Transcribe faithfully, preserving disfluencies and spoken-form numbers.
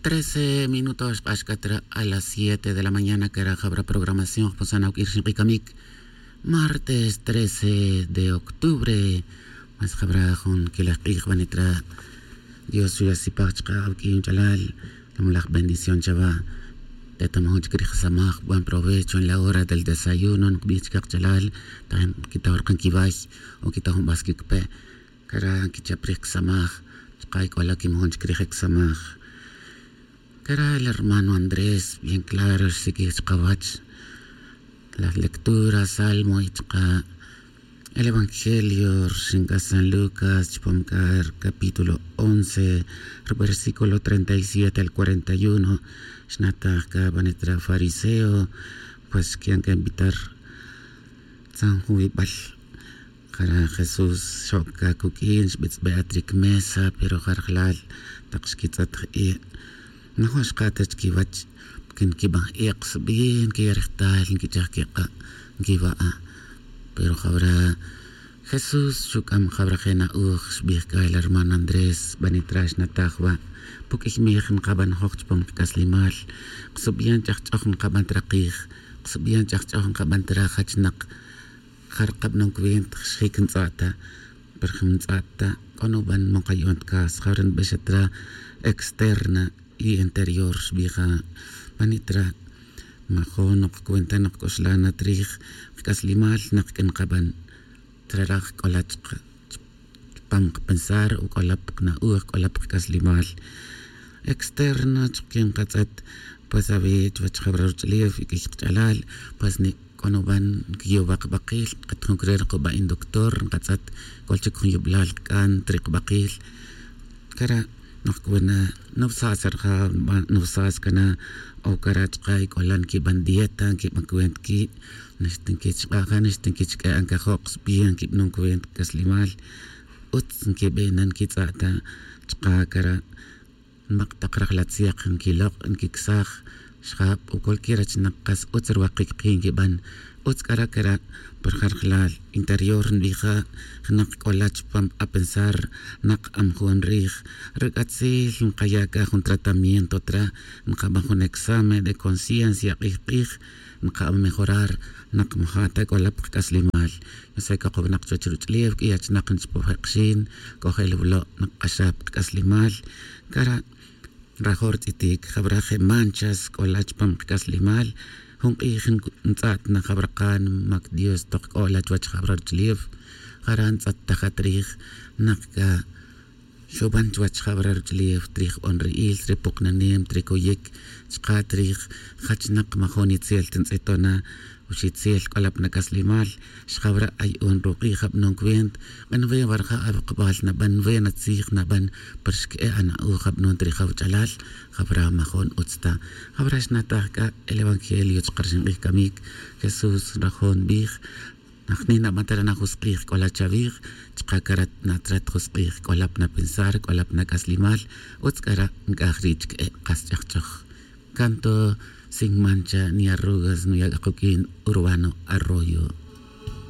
Trece minutos xk'ax k'a tra a las siete de la mañana kara jabra programación jpusan awk'ir xink'ikamic. Martes trece de octubre. Mas jabra jun quilaj k'ij banitra. Dios xuyasipaj chka awk'in ch'alal. Lamulaj bendición chawa. Tetamajun chik rij samaj, buen provecho en la hora del desayuno nkbij chka kch'alal. Tajen quitaw rkan quiway o quitaw jun bas quicpe. Cara nquichap rij csamaj. Chka ic'ola quimajun chic rij csamaj. Cara el hermano Andrés bien claro xsiquij chkawach. La lectura salmo y chka el evangelio rxinca san lucas chupam c'a capítulo once, versículo treinta y siete al cuarenta y uno. Xnataj c'a banitra fariseo. Pues xquian c'a invitar tzan jun wibal. Jara' jesús xoc ca cuq'uin xbitz'be at ric mesa pero jarjlal tak xquitz'at je' najun xka ta chiquiwach. Porque nquiban je' ksubi nquiya' rejtal nquichaj quik'a' nquiwa'a. Pero jawra jesús xuc'am jawra je' na'uj xbij c'a el hermano andrés banitra xnataj wa'. Puq'uiy mij nkaban joj chupam kac'aslimal. Ksubi yan ch'ajch'oj nkaban ta rakij. Ksubi yan ch'ajch'oj nkaban ta rajachnak. Jare' kabanon cuenta xjic ntz'a'ta. Pero jim ntz'a'ta c'o nuban mo kayo'on ta cas jare' nbexa tra externa y interior xbija. Pani' tra majun nokcuenta nokc'uxlan na trij kac'aslimal nak c'a nkaban. Traraj c'ola chupam kapensar o c'ola pa kana'uj c'ola pa kac'aslimal. Externa chuk que nkatz'et pues awe' chuwech jawra ruch'ulef y q'uiy kach'alal. Pues nik' c'o nuban nquiyowa' kabakil k'et jun cre' rukuba' inductor nkatz'et. C'ol chic jun yublal kac'an ta ri kabakil. Cara' nokcuena nubsas rija nubsas cana. O cara' chka y c'ola nquiban dieta nquiban cuenta qui'. Nixta nquichk'a' ja nixta nquichq'ue' ancajo' ksubi nquibanon cuenta cac'aslimal. Utz nquibe'na nquitz'a'ta chka cara'. Nmak' tak rajlatziak nquilok' nquicsaj. Xjab o cualquier achinak kas utz ruwakic ki' nquiban. Utz c'ara' cara' pa rijarjlal interior nbija. Nak c'ola chupam apensar nak amajun rij. Ruc'atzil nkaya' c'a jun tratamiento tra. Nkaban jun examen de conciencia k'ij k'ij. Nkaban mejorar nak maja' ta c'ola pa kac'aslimal. Yose c'a kubenak chuwech ruch'ulef q'uiy achinak nchupoj je' kxin. C'ojel wulo' nak k'axaj pa kac'aslimal. Cara' nrajo' rutz'itic jawra je' manchas c'ola chupam kac'aslimal. Jun k'ij ntz'at na jawra kan mac dios tok c'ola chuwech jawra ruch'ulef. Jara' ntz'at tajat rij nak c'a xuban chuwech jawra ruch'ulef trij onri'il ri puknanem tri coyic. Chka trij jachnak majun itzel ta ntz'ito na. Uxitzel c'ola pa nac'aslimal. Xjawra ay on ruk'ij abanon cuenta. K'an we warja' awakbal naban we natzij naban. Pero xque'e' ana'uj abanon ta ri jawch'alal. Jawra majun utz ta. Jawra xnataj c'a el evangelio chka ri xink'ij camic. Jesús nrajo' nbij najni naban ta re' na jusk'ij c'ola chawij. Chka cara' natrat jusk'ij c'ola pa napensar c'ola pa nac'aslimal. Utz c'ara' nc'aj ri' chque'e' kas ch'ajch'oj. Canto sin mancha ni arrugas nuya' c'a kuq'uin urbano arroyo.